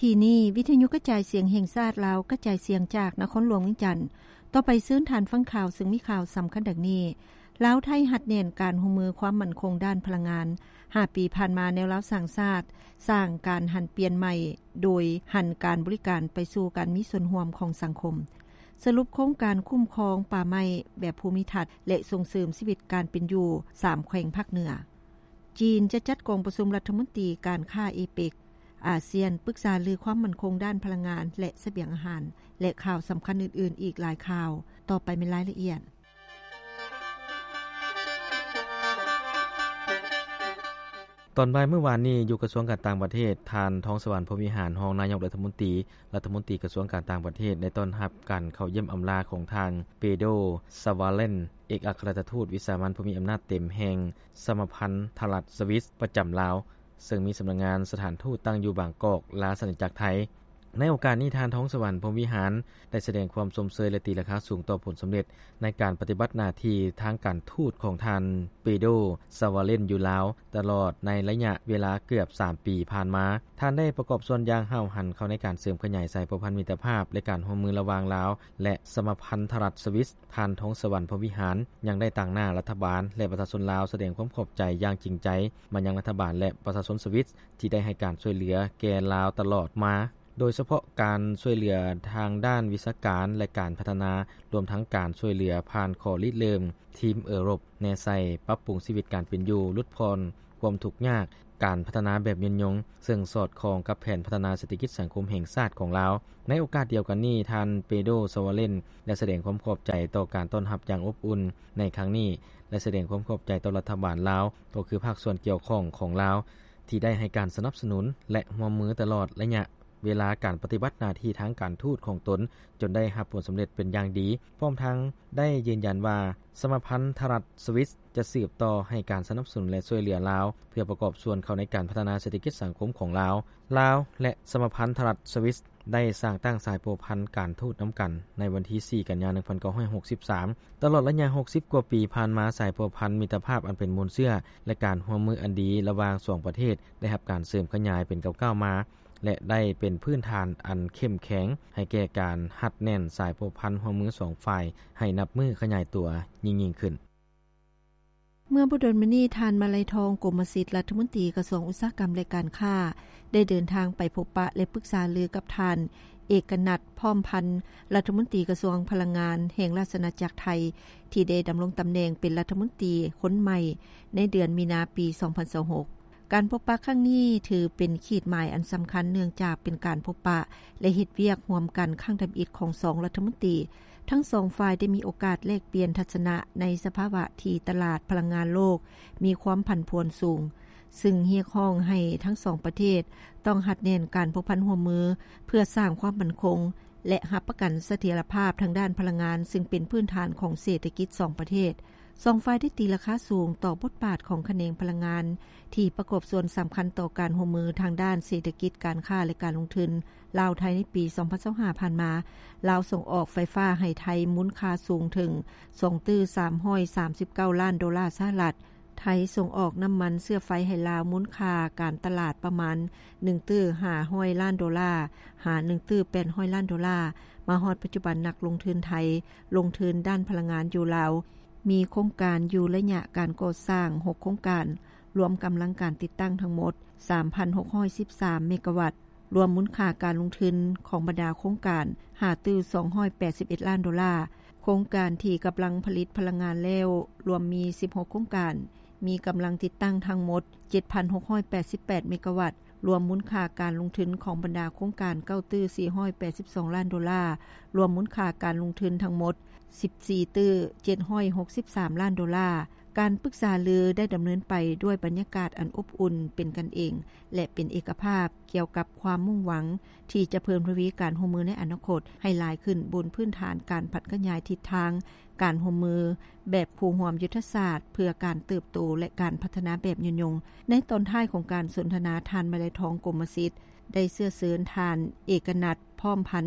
ທີ່ນີ້ ວິທະຍຸກະຈາຍສຽງແຫ່ງຊາດລາວ ກະຈາຍສຽງຈາກນະຄອນຫຼວງວຽງຈັນ. ຕໍ່ໄປເຊີນທ່ານຟັງຂ່າວ ເຊິ່ງມີຂ່າວສຳຄັນດັ່ງນີ້: ລາວ-ໄທຮັດແໜ້ນການຮ່ວມມືຄວາມໝັ້ນຄົງດ້ານພະລັງງານ. ຫ້າປີຜ່ານມາ ແນວລາວສ້າງຊາດ ສ້າງການຫັນປ່ຽນໃໝ່ ໂດຍຫັນການບໍລິການໄປສູ່ການມີສ່ວນຮ່ວມຂອງສັງຄົມ. ສະຫຼຸບໂຄງການຄຸ້ມຄອງປ່າໄມ້ແບບພູມິທັດ ແລະ ສົ່ງເສີມຊີວິດການເປັນຢູ່ສາມແຂວງພາກເໜືອ. ຈີນຈະຈັດກອງປະຊຸມລັດຖະມົນຕີການຄ້າເອເປັກ, ອາຊຽນ ປຶກສາລືຄວາມໝັ້ນຄົງດ້ານພະລັງງານ ແລະ ສະບຽງອາຫານ ແລະ ຂ່າວສຳຄັນອື່ນໆອີກຫຼາຍຂ່າວ. ຕໍ່ໄປແມ່ນລາຍລະອຽດ. ຕອນບ່າຍມື້ວານນີ້ ຢູ່ກະຊວງການຕ່າງປະເທດ, ທ່ານ ທອງສະຫວັນ ພົມວິຫານ ຮອງນາຍົກລັດຖະມົນຕີ, ລັດຖະມົນຕີກະຊວງການຕ່າງປະເທດ ໄດ້ຕ້ອນຮັບການເຂົ້າຢ້ຽມອຳລາຂອງທ່ານ ເປໂດ ຊາວາເລນ ເອກອັກຄະລັດຖະທູດວິສາມັນຜູ້ມີອຳນາດເຕັມແຫ່ງສະມາພັນທະລັດສະວິດປະຈຳລາວ, ເຊິ່ງມີສຳນັກງານສະຖານທູດຕັ້ງຢູ່ບາງກອກ, ລາຊະອານາຈັກໄທ. ໃນໂອກາດນີ້, ທ່ານ ທອງສະຫວັນ ພົມວິຫານ ໄດ້ສະແດງຄວາມຊົມເຊີຍ ແລະ ຕີລາຄາສູງຕໍ່ຜົນສຳເລັດໃນການປະຕິບັດໜ້າທີ່ທາງການທູດຂອງທ່ານ ເປໂດ ຊາວາເລນ ຢູ່ລາວ ຕະຫຼອດໃນໄລຍະເວລາເກືອບສາມປີຜ່ານມາ. ທ່ານໄດ້ປະກອບສ່ວນຢ່າງຫ້າວຫັນເຂົ້າໃນການເສີມຂະຫຍາຍສາຍພົວພັນມິດຕະພາບ ແລະ ການຮ່ວມມືລະຫວ່າງລາວ ແລະ ສະມາພັນທະລັດສະວິດ. ທ່ານ ທອງສະຫວັນ ພົມວິຫານ ຍັງໄດ້ຕາງໜ້າລັດຖະບານ ແລະ ປະຊາຊົນລາວ ສະແດງຄວາມຂອບໃຈຢ່າງຈິງໃຈມາຍັງລັດຖະບານ ແລະ ປະຊາຊົນສະວິດ ທີ່ໄດ້ໃຫ້ການຊ່ວຍເຫຼືອແກ່ລາວຕະຫຼອດມາ, ໂດຍສະເພາະການຊ່ວຍເຫຼືອທາງດ້ານວິຊາການ ແລະ ການພັດທະນາ, ລວມທັງການຊ່ວຍເຫຼືອຜ່ານຂໍ້ລິເລີ່ມທີມເອີຣົບ ແນໃສ່ປັບປຸງຊີວິດການເປັນຢູ່, ຫຼຸດຜ່ອນຄວາມທຸກຍາກ, ການພັດທະນາແບບຍືນຍົງ, ເຊິ່ງສອດຄ່ອງກັບແຜນພັດທະນາເສດຖະກິດສັງຄົມແຫ່ງຊາດຂອງລາວ. ໃນໂອກາດດຽວກັນນີ້, ທ່ານ ເປໂດ ຊາວາເລນ ໄດ້ສະແດງຄວາມຂອບໃຈຕໍ່ການຕ້ອນຮັບຢ່າງອົບອຸ່ນໃນຄັ້ງນີ້ ແລະ ສະແດງຄວາມຂອບໃຈຕໍ່ລັດຖະບານລາວ, ກໍຄືພາກສ່ວນກ່ຽວຂ້ອງຂອງລາວ ທີ່ໄດ້ໃຫ້ການສະໜັບສະໜູນ ແລະ ຮ່ວມມືຕະຫຼອດໄລຍະເວລາການປະຕິບັດໜ້າທີ່ທາງການທູດຂອງຕົນ ຈົນໄດ້ຮັບຜົນສຳເລັດເປັນຢ່າງດີ, ພ້ອມທັງໄດ້ຢືນຢັນວ່າ ສະມາພັນທະລັດສະວິດ ຈະສືບຕໍ່ໃຫ້ການສະໜັບສະໜູນ ແລະ ຊ່ວຍເຫຼືອລາວ ເພື່ອປະກອບສ່ວນເຂົ້າໃນການພັດທະນາເສດຖະກິດສັງຄົມຂອງລາວ. ລາວ ແລະ ສະມາພັນທະລັດສະວິດ ໄດ້ສ້າງຕັ້ງສາຍພົວພັນການທູດນຳກັນໃນວັນທີສີ່ ກັນຍາ ໜຶ່ງພັນເກົ້າຮ້ອຍຫົກສິບສາມ. ຕະຫຼອດໄລຍະຫົກສິບກວ່າປີຜ່ານມາ, ສາຍພົວພັນມິດຕະພາບອັນເປັນມູນເຊື້ອ ແລະ ການຮ່ວມມືອັນດີລະຫວ່າງສອງປະເທດ ໄດ້ຮັບການເສີມຂະຫຍາຍເປັນກ້າວໆມາ ແລະ ໄດ້ເປັນພື້ນຖານອັນເຂັ້ມແຂງໃຫ້ແກ່ການຮັດແໜ້ນສາຍພົວພັນຮ່ວມມືສອງຝ່າຍ ໃຫ້ນັບມື້ຂະຫຍາຍຕົວຍິ່ງໆຂຶ້ນ. ເມື່ອບໍ່ດົນມານີ້, ທ່ານ ມາໄລທອງ ກົມມະສິດ ລັດຖະມົນຕີກະຊວງອຸດສາຫະກຳ ແລະ ການຄ້າ ໄດ້ເດີນທາງໄປພົບປະ ແລະ ປຶກສາລືກັບທ່ານ ເອກະນັດ ພ້ອມພັນ ລັດຖະມົນຕີກະຊວງພະລັງງານແຫ່ງລາຊະອານາຈັກໄທ ທີ່ໄດ້ດຳລົງຕຳແໜ່ງເປັນລັດຖະມົນຕີຄົນໃໝ່ໃນເດືອນມີນາ ປີສອງພັນຊາວຫົກ. ການພົບປະຄັ້ງນີ້ຖືເປັນຂີດໝາຍອັນສຳຄັນ ເນື່ອງຈາກເປັນການພົບປະ ແລະ ເຮັດວຽກຮ່ວມກັນຄັ້ງທຳອິດຂອງສອງລັດຖະມົນຕີ. ທັງສອງຝ່າຍໄດ້ມີໂອກາດແລກປ່ຽນທັດສະນະໃນສະພາວະທີ່ຕະຫຼາດພະລັງງານໂລກມີຄວາມຜັນຜວນສູງ, ຊຶ່ງຮຽກຮ້ອງໃຫ້ທັງສອງປະເທດຕ້ອງຮັດແໜ້ນການພົວພັນຮ່ວມມື ເພື່ອສ້າງຄວາມໝັ້ນຄົງ ແລະ ຮັບປະກັນສະຖຽນລະພາບທາງດ້ານພະລັງງານ, ຊຶ່ງເປັນພື້ນຖານຂອງເສດຖະກິດສອງປະເທດ. ສອງຝ່າຍໄດ້ຕີລາຄາສູງຕໍ່ບົດບາດຂອງຂະແໜງພະລັງງານ ທີ່ປະກອບສ່ວນສຳຄັນຕໍ່ການຮ່ວມມືທາງດ້ານເສດຖະກິດ, ການຄ້າ ແລະ ການລົງທຶນລາວ-ໄທໃນປີສອງພັນຊາວຫ້າຜ່ານມາ. ລາວສົ່ງອອກໄຟຟ້າໃຫ້ໄທມູນຄ່າສູງເຖິງສອງຕື້ສາມຮ້ອຍສາມສິບເກົ້າລ້ານໂດລາສະຫະລັດ, ໄທສົ່ງອອກນ້ຳມັນເຊື້ອໄຟໃຫ້ລາວມູນຄ່າການຕະຫຼາດປະມານໜຶ່ງຕື້ຫ້າຮ້ອຍລ້ານໂດລາ ຫາ ໜຶ່ງຕື້ແປດຮ້ອຍລ້ານໂດລາ. ມາຮອດປັດຈຸບັນ, ນັກລົງທຶນໄທລົງທຶນດ້ານພະລັງງານຢູ່ລາວ ມີໂຄງການຢູ່ໄລຍະການກໍ່ສ້າງຫົກໂຄງການ, ລວມກຳລັງການຕິດຕັ້ງທັງໝົດສາມພັນຫົກຮ້ອຍສິບສາມເມກາວັດ, ລວມມູນຄ່າການລົງທຶນຂອງບັນດາໂຄງການຫ້າຕື້ສອງຮ້ອຍແປດສິບເອັດລ້ານໂດລາ. ໂຄງການທີ່ກຳລັງຜະລິດພະລັງງານແລ້ວລວມມີສິບຫົກໂຄງການ, ມີກຳລັງຕິດຕັ້ງທັງໝົດເຈັດພັນຫົກຮ້ອຍແປດສິບແປດເມກາວັດ, ລວມມູນຄ່າການລົງທຶນຂອງບັນດາໂຄງການເກົ້າຕື້ສີ່ຮ້ອຍແປດສິບສອງລ້ານໂດລາ, ລວມມູນຄ່າການລົງທຶນທັງໝົດສິບສີ່ຕື້ເຈັດຮ້ອຍຫົກສິບສາມລ້ານໂດລາ. ການປຶກສາລືໄດ້ດຳເນີນໄປດ້ວຍບັນຍາກາດອັນອົບອຸ່ນ, ເປັນກັນເອງ ແລະ ເປັນເອກະພາບ ກ່ຽວກັບຄວາມມຸ່ງຫວັງທີ່ຈະເພີ່ມທະວີການຮ່ວມມືໃນອະນາຄົດໃຫ້ຫຼາຍຂຶ້ນ ບົນພື້ນຖານການຜັນຂະຫຍາຍທິດທາງການຮ່ວມມືແບບຄູ່ຮ່ວມຍຸດທະສາດ ເພື່ອການເຕີບໂຕ ແລະ ການພັດທະນາແບບຍືນຍົງ. ໃນຕອນທ້າຍຂອງການສົນທະນາ, ທ່ານ ມາໄລທອງ ກົມມະສິດ ໄດ້ເຊື້ອເຊີນທ່ານ ເອກະນັດ ພ້ອມພັນ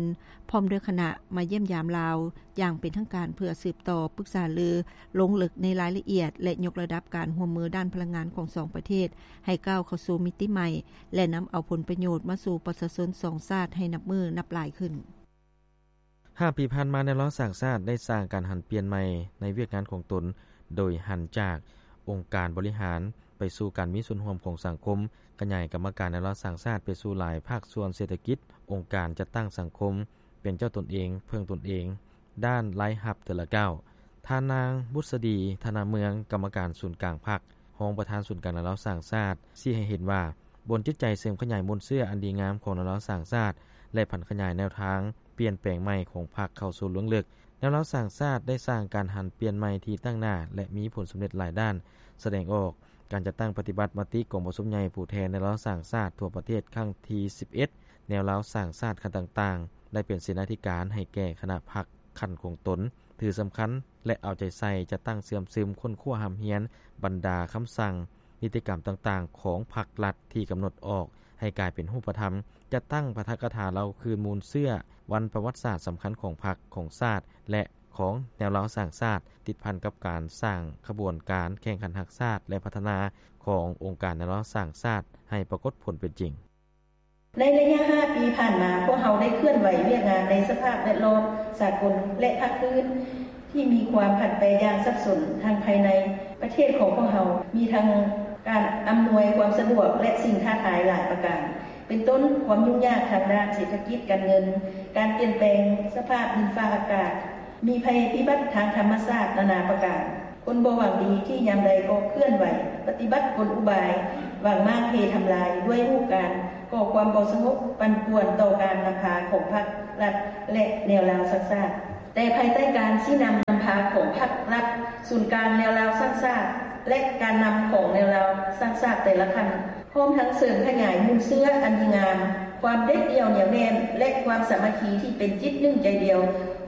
ພ້ອມດ້ວຍຄະນະ ມາຢ້ຽມຢາມລາວ ຢ່າງເປັນທາງການ ເພື່ອສືບຕໍ່ປຶກສາລື ລົງເລິກໃນລາຍລະອຽດ ແລະ ຍົກລະດັບການຮ່ວມມືດ້ານພະລັງງານຂອງສອງປະເທດ ໃຫ້ກ້າວເຂົ້າສູ່ມິຕິໃໝ່ ແລະ ນຳເອົາຜົນປະໂຫຍດມາສູ່ປະຊາຊົນສອງຊາດໃຫ້ນັບມື້ນັບຫຼາຍຂຶ້ນ. ຫ້າປີຜ່ານມາ, ແນວລາວສ້າງຊາດໄດ້ສ້າງການຫັນປ່ຽນໃໝ່ໃນວຽກງານຂອງຕົນ, ໂດຍຫັນຈາກອົງການບໍລິຫານໄປສູ່ການມີສ່ວນຮ່ວມຂອງສັງຄົມ, ຂະຫຍາຍກຳມະການແນວລາວສ້າງຊາດໄປສູ່ຫຼາຍພາກສ່ວນເສດຖະກິດ, ອົງການຈັດຕັ້ງສັງຄົມ, ເປັນເຈົ້າຕົນເອງ, ເພິ່ງຕົນເອງ, ດ້ານລາຍຮັບແຕ່ລະກ້າວ. ທ່ານນາງ ບຸດສະດີ ທະນາເມືອງ, ກຳມະການສູນກາງພັກ, ຮອງປະທານສູນກາງແນວລາວສ້າງຊາດ ຊີ້ໃຫ້ເຫັນວ່າ ບົນຈິດໃຈເສີມຂະຫຍາຍມູນເຊື້ອອັນດີງາມຂອງແນວລາວສ້າງຊາດ ແລະ ຜັນຂະຫຍາຍແນວທາງປ່ຽນແປງໃໝ່ຂອງພັກເຂົ້າສູ່ເບື້ອງເລິກ. ແນວລາວສ້າງຊາດໄດ້ສ້າງການຫັນປ່ຽນໃໝ່ທີ່ຕັ້ງໜ້າ ແລະ ມີຜົນສຳເລັດຫຼາຍດ້ານ, ສະແດງອອກການຈັດຕັ້ງປະຕິບັດມະຕິກອງປະຊຸມໃຫຍ່ຜູ້ແທນແນວລາວສ້າງຊາດທົ່ວປະເທດຄັ້ງທີສິບເອັດ, ແນວລາວສ້າງຊາດຂັ້ນຕ່າງໆ ໄດ້ເປັນເສນາທິການໃຫ້ແກ່ຄະນະພັກ ຂັ້ນຂອງຕົນ, ຖືສຳຄັນ ແລະ ເອົາໃຈໃສ່ຈັດຕັ້ງເຊື່ອມຊຶມ, ຄົ້ນຄວ້າຮ່ຳຮຽນບັນດາຄຳສັ່ງ, ນິຕິກຳຕ່າງໆຂອງພັກລັດທີ່ກຳນົດອອກໃຫ້ກາຍເປັນຮູບປະທຳ, ຈັດຕັ້ງປາຖະກະຖາເລົ່າຄືນມູນເຊື້ອວັນປະຫວັດສາດສຳຄັນຂອງພັກ, ຂອງຊາດ ແລະ ຂອງແນວລາວສ້າງຊາດ, ຕິດພັນກັບການສ້າງຂະບວນການແຂ່ງຂັນຮັກຊາດ ແລະ ພັດທະນາຂອງອົງການແນວລາວສ້າງຊາດໃຫ້ປາກົດຜົນເປັນຈິງ. ໃນໄລຍະຫ້າປີຜ່ານມາ, ພວກເຮົາໄດ້ເຄື່ອນໄຫວວຽກງານໃນສະພາບແວດລ້ອມສາກົນ ແລະ ພາກພື້ນທີ່ມີຄວາມຜັນແປຢ່າງສັບສົນ. ທາງພາຍໃນປະເທດຂອງພວກເຮົາ ມີທັງການອຳນວຍຄວາມສະດວກ ແລະ ສິ່ງທ້າທາຍຫຼາຍປະການ, ເປັນຕົ້ນຄວາມຫຍຸ້ງຍາກທາງດ້ານເສດຖະກິດການເງິນ, ການປ່ຽນແປງສະພາບດິນຟ້າອາກາດ, ມີໄພພິບັດທາງທຳມະຊາດນານາປະການ, ຄົນບໍ່ຫວັງດີທີ່ຍາມໃດກໍເຄື່ອນໄຫວປະຕິບັດກົນອຸບາຍຫວັງມ້າງເພທຳລາຍ ດ້ວຍຮູບການກໍ່ຄວາມບໍ່ສະຫງົບປັ່ນປ່ວນຕໍ່ການນຳພາຂອງພັກລັດ ແລະ ແນວລາວສ້າງຊາດ. ແຕ່ພາຍໃຕ້ການຊີ້ນຳນຳພາຂອງພັກລັດ, ສູນກາງແນວລາວສ້າງຊາດ ແລະ ການນຳຂອງແນວລາວສ້າງຊາດແຕ່ລະຂັ້ນ ພ້ອມທັງເສີມຂະຫຍາຍມູນເຊື້ອອັນດີງາມ, ຄວາມເດັດດ່ຽວໜຽວແໜ້ນ ແລະ ຄວາມສາມັກຄີທີ່ເປັນຈິດໜຶ່ງໃຈດຽວ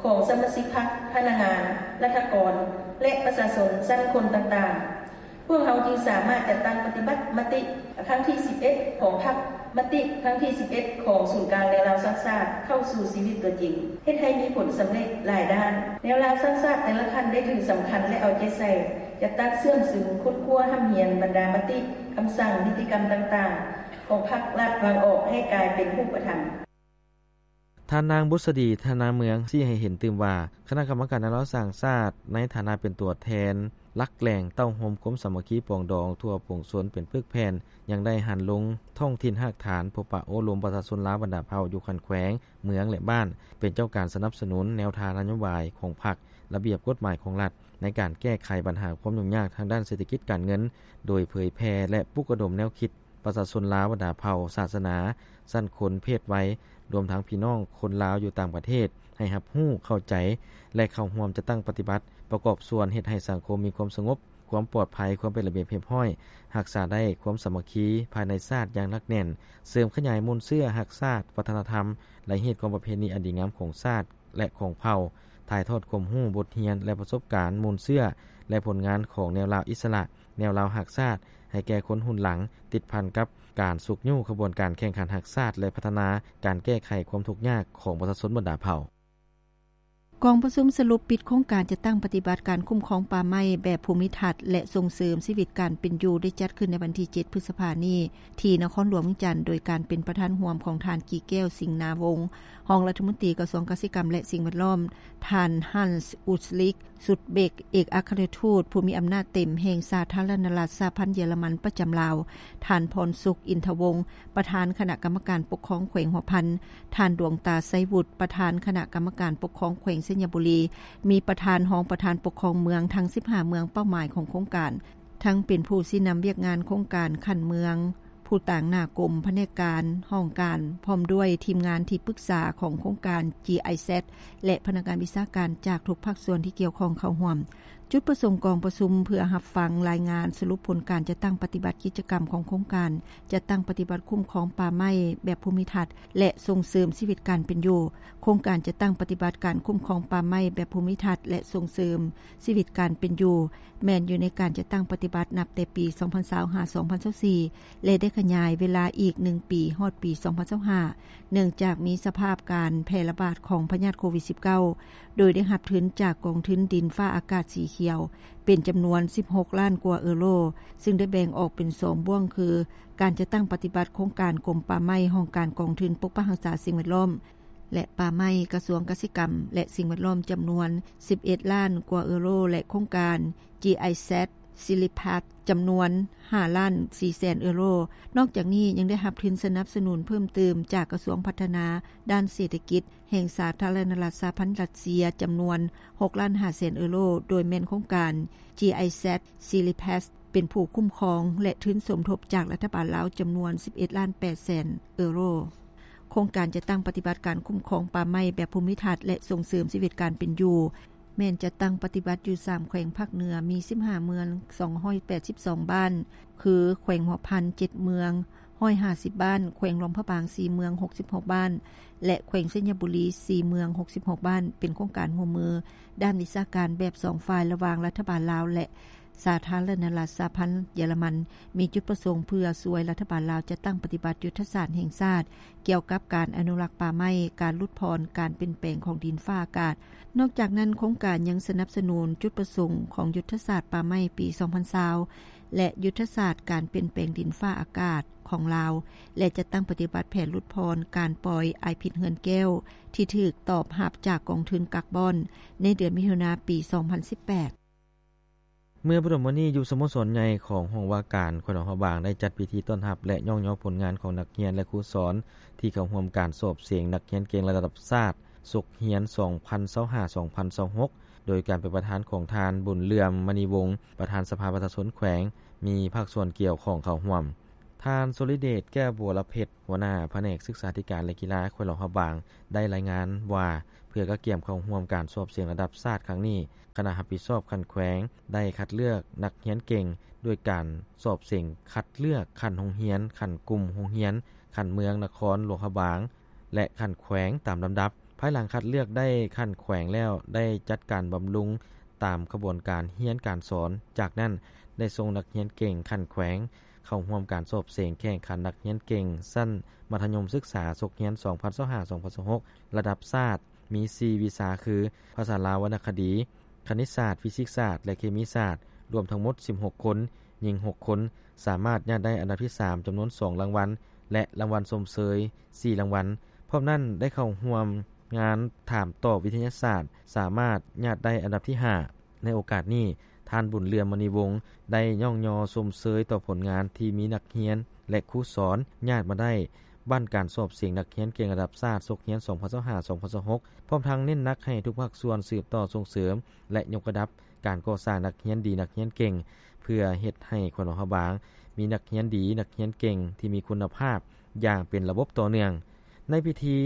ຂອງສະມາຊິກພັກ, ພະນັກງານ, ລັດຖະກອນ ແລະ ປະຊາຊົນຊັ້ນຄົນຕ່າງໆ, ພວກເຮົາຈຶ່ງສາມາດຈັດຕັ້ງປະຕິບັດມະຕິຄັ້ງທີສິບເອັດຂອງພັກ, ມະຕິຄັ້ງທີສິບເອັດຂອງສູນກາງແນວລາວສ້າງຊາດ ເຂົ້າສູ່ຊີວິດຕົວຈິງ, ເຮັດໃຫ້ມີຜົນສຳເລັດຫຼາຍດ້ານ. ແນວລາວສ້າງຊາດແຕ່ລະຂັ້ນໄດ້ຖືສຳຄັນ ແລະ ເອົາໃຈໃສ່ ຈັດຕັ້ງເຊື່ອມຊຶມ, ຄົ້ນຄວ້າຮ່ຳຮຽນບັນດາມະຕິ, ຄຳສັ່ງ, ນິຕິກຳຕ່າງໆຂອງພັກລັດວາງອອກໃຫ້ກາຍເປັນຮູບປະທຳ. ທ່ານນາງ ບຸດສະດີ ທະນາເມືອງ ຊີ້ໃຫ້ເຫັນຕື່ມວ່າ ຄະນະກຳມະການແນວລາວສ້າງຊາດ ໃນຖານະເປັນຕົວແທນຫຼັກແຫຼ່ງເຕົ້າໂຮມຄວາມສາມັກຄີປອງດອງທົ່ວປວງຊົນເປັນປຶກແຜ່ນ, ຍັງໄດ້ຫັນລົງທ້ອງຖິ່ນຮາກຖານ, ພົບປະໂອ້ລົມປະຊາຊົນລາວບັນດາເຜົ່າຢູ່ຂັ້ນແຂວງ, ເມືອງ ແລະ ບ້ານ, ເປັນເຈົ້າການສະໜັບສະໜູນແນວທາງນະໂຍບາຍຂອງພັກ, ລະບຽບກົດໝາຍຂອງລັດ ໃນການແກ້ໄຂບັນຫາຄວາມຫຍຸ້ງຍາກທາງດ້ານເສດຖະກິດການເງິນ, ໂດຍເຜີຍແຜ່ ແລະ ປຸກລະດົມແນວຄິດ ປະຊາຊົນລາວບັນດາເຜົ່າ, ສາສະໜາ, ຊັ້ນຄົນ, ເພດໄວ, ລວມທັງພີ່ນ້ອງຄົນລາວຢູ່ຕ່າງປະເທດ ໃຫ້ຮັບຮູ້, ເຂົ້າໃຈ ແລະ ເຂົ້າຮ່ວມຈັດຕັ້ງປະຕິບັດ, ປະກອບສ່ວນເຮັດໃຫ້ສັງຄົມມີຄວາມສະຫງົບ, ຄວາມປອດໄພ, ຄວາມເປັນລະບຽບຮຽບຮ້ອຍ, ຮັກສາໄດ້ຄວາມສາມັກຄີພາຍໃນຊາດຢ່າງໜັກແໜ້ນ, ເສີມຂະຫຍາຍມູນເຊື້ອຮັກຊາດ, ວັດທະນະທຳ ແລະ ຮີດຄອງປະເພນີອັນດີງາມຂອງຊາດ ແລະ ຂອງເຜົ່າ, ຖ່າຍທອດຄວາມຮູ້, ບົດຮຽນ ແລະ ປະສົບການມູນເຊື້ອ ແລະ ຜົນງານຂອງແນວລາວອິດສະຫຼະ, ແນວລາວຮັກຊາດ ໃຫ້ແກ່ຄົນຮຸ່ນຫຼັງ, ຕິດພັນກັບການຊຸກຍູ້ຂະບວນການແຂ່ງຂັນຮັກຊາດ ແລະ ພັດທະນາການແກ້ໄຂຄວາມທຸກຍາກຂອງປະຊາຊົນບັນດາເຜົ່າ. ກອງປະຊຸມສະຫຼຸບປິດໂຄງການຈັດຕັ້ງປະຕິບັດການຄຸ້ມຄອງປ່າໄມ້ແບບພູມິທັດ ແລະ ສົ່ງເສີມຊີວິດການເປັນຢູ່ ໄດ້ຈັດຂຶ້ນໃນວັນທີເຈັດ ພຶດສະພານີ້ ທີ່ນະຄອນຫຼວງວຽງຈັນ ໂດຍການເປັນປະທານຮ່ວມຂອງທ່ານ ກີແກ້ວ ສິງນາວົງ ຮອງລັດຖະມົນຕີກະຊວງກະສິກຳ ແລະ ສິ່ງແວດລ້ອມ, ທ່ານ ຮັນສ໌ ອຸດລິກ ຊຸດເບັກ ເອກອັກຄະລັດທູດຜູ້ມີອຳນາດເຕັມແຫ່ງສາທາລະນະລັດສະຫະພັນເຢຍລະມັນປະຈຳລາວ, ທ່ານ ພອນສຸກ ອິນທະວົງ ປະທານຄະນະກຳມະການປົກຄອງແຂວງຫົວພັນ, ທ່ານ ດວງຕາ ໄຊວຸດ ປະທານຄະນະກຳມະການປົກຄອງແຂວງໄຊຍະບູລີ, ມີປະທານ, ຮອງປະທານປົກຄອງເມືອງທັງສິບຫ້າເມືອງເປົ້າໝາຍຂອງໂຄງການ, ທັງເປັນຜູ້ຊີ້ນຳວຽກງານໂຄງການຂັ້ນເມືອງ, ຜູ້ຕາງໜ້າກົມ, ພະແນກການ, ຫ້ອງການ, ພ້ອມດ້ວຍທີມງານທີ່ປຶກສາຂອງໂຄງການ ຈີໄອແຊັດ ແລະ ພະນັກງານວິຊາການຈາກທຸກພາກສ່ວນທີ່ກ່ຽວຂ້ອງເຂົ້າຮ່ວມ. ຈຸດປະສົງກອງປະຊຸມເພື່ອຮັບຟັງລາຍງານສະຫຼຸບຜົນການຈັດຕັ້ງປະຕິບັດກິດຈະກຳຂອງໂຄງການຈັດຕັ້ງປະຕິບັດຄຸ້ມຄອງປ່າໄມ້ແບບພູມິທັດ ແລະ ສົ່ງເສີມຊີວິດການເປັນຢູ່. ໂຄງການຈັດຕັ້ງປະຕິບັດການຄຸ້ມຄອງປ່າໄມ້ແບບພູມິທັດ ແລະ ສົ່ງເສີມຊີວິດການເປັນຢູ່ ແມ່ນຢູ່ໃນການຈັດຕັ້ງປະຕິບັດນັບແຕ່ປີສອງພັນຊາວຫ້າ ສອງພັນຊາວສີ່ ແລະ ໄດ້ຂະຫຍາຍເວລາອີກໜຶ່ງປີ ຮອດປີສອງພັນຊາວຫ້າ ເນື່ອງຈາກມີສະພາບການແຜ່ລະບາດຂອງພະຍາດໂຄວິດສິບເກົ້າ ໂດຍໄດ້ຮັບທຶນຈາກກອງທຶນດິນຟ້າອາກາດສີຂຽວ ເປັນຈຳນວນສິບຫົກລ້ານກວ່າເອີໂຣ, ຊຶ່ງໄດ້ແບ່ງອອກເປັນສອງບ່ວງ ຄື ການຈັດຕັ້ງປະຕິບັດໂຄງການກົມປ່າໄມ້, ຫ້ອງການກອງທຶນປົກປັກຮັກສາສິ່ງແວດລ້ອມ ແລະ ປ່າໄມ້, ກະຊວງກະສິກຳ ແລະ ສິ່ງແວດລ້ອມ ຈຳນວນສິບເອັດລ້ານກວ່າເອີໂຣ ແລະ ໂຄງການ GIZ Silipath ຈຳນວນຫ້າລ້ານສີ່ແສນເອີໂຣ. ນອກຈາກນີ້ຍັງໄດ້ຮັບທຶນສະໜັບສະໜູນເພີ່ມເຕີມຈາກກະຊວງພັດທະນາດ້ານເສດຖະກິດແຫ່ງສາທາລະນະລັດສະຫະພັນຣັດເຊຍ ຈຳນວນຫົກລ້ານຫ້າແສນເອີໂຣ, ໂດຍແມ່ນໂຄງການ GIZ Silipath ເປັນຜູ້ຄຸ້ມຄອງ ແລະ ທຶນສົມທົບຈາກລັດຖະບານລາວ ຈຳນວນສິບເອັດລ້ານແປດແສນເອີໂຣ. ໂຄງການຈັດຕັ້ງປະຕິບັດການຄຸ້ມຄອງປ່າໄມ້ແບບພູມິທັດ ແລະ ສົ່ງເສີມຊີວິດການເປັນຢູ່ ແມ່ນຈັດຕັ້ງປະຕິບັດຢູ່ສາມແຂວງພາກເໜືອ, ມີສິບຫ້າເມືອງ, ສອງຮ້ອຍແປດສິບສອງບ້ານ ຄື ແຂວງຫົວພັນ ເຈັດເມືອງ, ຮ້ອຍຫ້າສິບບ້ານ, ແຂວງຫຼວງພະບາງ ສີ່ເມືອງ, ຫົກສິບຫົກບ້ານ ແລະ ແຂວງໄຊຍະບູລີ ສີ່ເມືອງ, ຫົກສິບຫົກບ້ານ ເປັນໂຄງການຮ່ວມມືດ້ານວິຊາການແບບສອງຝ່າຍ ລະຫວ່າງລັດຖະບານລາວ ແລະ ສາທາລະນະລັດສະຫະພັນເຢຍລະມັນ, ມີຈຸດປະສົງເພື່ອຊ່ວຍລັດຖະບານລາວຈັດຕັ້ງປະຕິບັດຍຸດທະສາດແຫ່ງຊາດກ່ຽວກັບການອະນຸລັກປ່າໄມ້, ການຫຼຸດຜ່ອນການປ່ຽນແປງຂອງດິນຟ້າອາກາດ. ນອກຈາກນັ້ນ, ໂຄງການຍັງສະໜັບສະໜູນຈຸດປະສົງຂອງຍຸດທະສາດປ່າໄມ້ປີສອງພັນຊາວ ແລະ ຍຸດທະສາດການປ່ຽນແປງດິນຟ້າອາກາດຂອງລາວ ແລະ ຈັດຕັ້ງປະຕິບັດແຜນຫຼຸດຜ່ອນການປ່ອຍອາຍພິດເຮືອນແກ້ວ ທີ່ຖືກຕອບຮັບຈາກກອງທຶນກາກບອນ ໃນເດືອນມິຖຸນາປີສອງພັນສິບແປດ. ເມື່ອບໍ່ດົນມານີ້ ຢູ່ສະໂມສອນໃຫຍ່ຂອງຫ້ອງວ່າການແຂວງຫຼວງພະບາງ ໄດ້ຈັດພິທີຕ້ອນຮັບ ແລະ ຍ້ອງຍໍຜົນງານຂອງນັກຮຽນ ແລະ ຄູສອນ ທີ່ເຂົ້າຮ່ວມການສອບເສັງນັກຮຽນເກັ່ງລະດັບຊາດ ສົກຮຽນສອງພັນຊາວຫ້າ ສອງພັນຊາວຫົກ ໂດຍການເປັນປະທານຂອງທ່ານ ບຸນເຫຼື່ອມ ມະນີວົງ ປະທານສະພາປະຊາຊົນແຂວງ, ມີພາກສ່ວນກ່ຽວຂ້ອງເຂົ້າຮ່ວມ. ທ່ານ ໂຊລິເດດ ແກ້ວບົວລະເພັດ ຫົວໜ້າພະແນກສຶກສາທິການ ແລະ ກິລາແຂວງຫຼວງພະບາງ ໄດ້ລາຍງານວ່າ ເພື່ອກະກຽມເຂົ້າຮ່ວມການສອບເສັງລະດັບຊາດຄັ້ງນີ້, ຄະນະຮັບຜິດຊອບຂັ້ນແຂວງໄດ້ຄັດເລືອກນັກຮຽນເກັ່ງ ດ້ວຍການສອບເສັງຄັດເລືອກຂັ້ນໂຮງຮຽນ, ຂັ້ນກຸ່ມໂຮງຮຽນ, ຂັ້ນເມືອງ, ນະຄອນຫຼວງພະບາງ ແລະ ຂັ້ນແຂວງຕາມລຳດັບ. ພາຍຫຼັງຄັດເລືອກໄດ້ຂັ້ນແຂວງແລ້ວ, ໄດ້ຈັດການບຳລຸງຕາມຂະບວນການຮຽນການສອນ. ຈາກນັ້ນ, ໄດ້ສົ່ງນັກຮຽນເກັ່ງຂັ້ນແຂວງ ເຂົ້າຮ່ວມການສອບເສັງແຂ່ງຂັນນັກຮຽນເກັ່ງຊັ້ນມັດທະຍົມສຶກສາ ສົກຮຽນສອງພັນຊາວຫ້າ ສອງພັນຊາວຫົກ ລະດັບຊາດ ມີສີ່ວິຊາຄື ພາສາລາວວັນນະຄະດີ, ຄະນິດສາດ, ຟີຊິກສາດ ແລະ ເຄມີສາດ, ລວມທັງໝົດສິບຫົກຄົນ, ຍິງຫົກຄົນ, ສາມາດຍາດໄດ້ອັນດັບທີສາມ ຈຳນວນສອງລາງວັນ ແລະ ລາງວັນຊົມເຊີຍສີ່ລາງວັນ. ພ້ອມນັ້ນໄດ້ເຂົ້າຮ່ວມງານຖາມຕອບວິທະຍາສາດ, ສາມາດຍາດໄດ້ອັນດັບທີຫ້າ. ໃນໂອກາດນີ້, ທ່ານ ບຸນເຫຼື່ອມ ມະນີວົງ ໄດ້ຍ້ອງຍໍຊົມເຊີຍຕໍ່ຜົນງານທີ່ມີນັກຮຽນ ແລະ ຄູສອນຍາດມາໄດ້ບັ້ນການສອບເສັງນັກຮຽນເກັ່ງລະດັບຊາດ ສົກຮຽນສອງພັນຊາວຫ້າ ສອງພັນຊາວຫົກ ພ້ອມທັງເນັ້ນໜັກໃຫ້ທຸກພາກສ່ວນສືບຕໍ່ສົ່ງເສີມ ແລະ ຍົກລະດັບການກໍ່ສ້າງນັກຮຽນດີ, ນັກຮຽນເກັ່ງ ເພື່ອເຮັດໃຫ້ແຂວງຫຼວງພະບາງມີນັກຮຽນດີ, ນັກຮຽນເກັ່ງທີ່ມີຄຸນນະພາບຢ່າງເປັນລະບົບຕໍ່ເນື່ອງ. ໃນພິທີ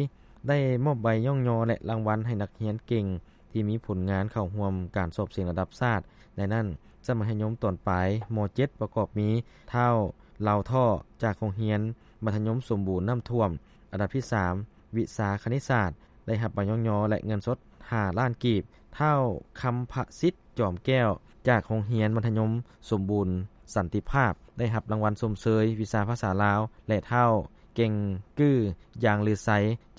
ໄດ້ມອບໃບຍ້ອງຍໍ ແລະ ລາງວັນໃຫ້ນັກຮຽນເກັ່ງ ທີ່ມີຜົນງານເຂົ້າຮ່ວມການສອບເສັງລະດັບຊາດ. ໃນນັ້ນ, ຊັ້ນມັດທະຍົມຕອນປາຍ ມໍເຈັດ ປະກອບມີ ທ້າວ ເລົາທໍ່ ຈາກໂຮງຮຽນມັດທະຍົມສົມບູນນ້ຳຖ້ວມ ອັນດັບທີສາມ ວິຊາຄະນິດສາດ ໄດ້ຮັບໃບຍ້ອງຍໍ ແລະ ເງິນສົດຫ້າລ້ານກີບ, ທ້າວ ຄຳພະສິດ ຈອມແກ້ວ ຈາກໂຮງຮຽນມັດທະຍົມສົມບູນສັນຕິພາບ ໄດ້ຮັບລາງວັນຊົມເຊີຍວິຊາພາສາລາວ ແລະ ທ້າວ ເກັ່ງກື້ ຢາງລືໄຊ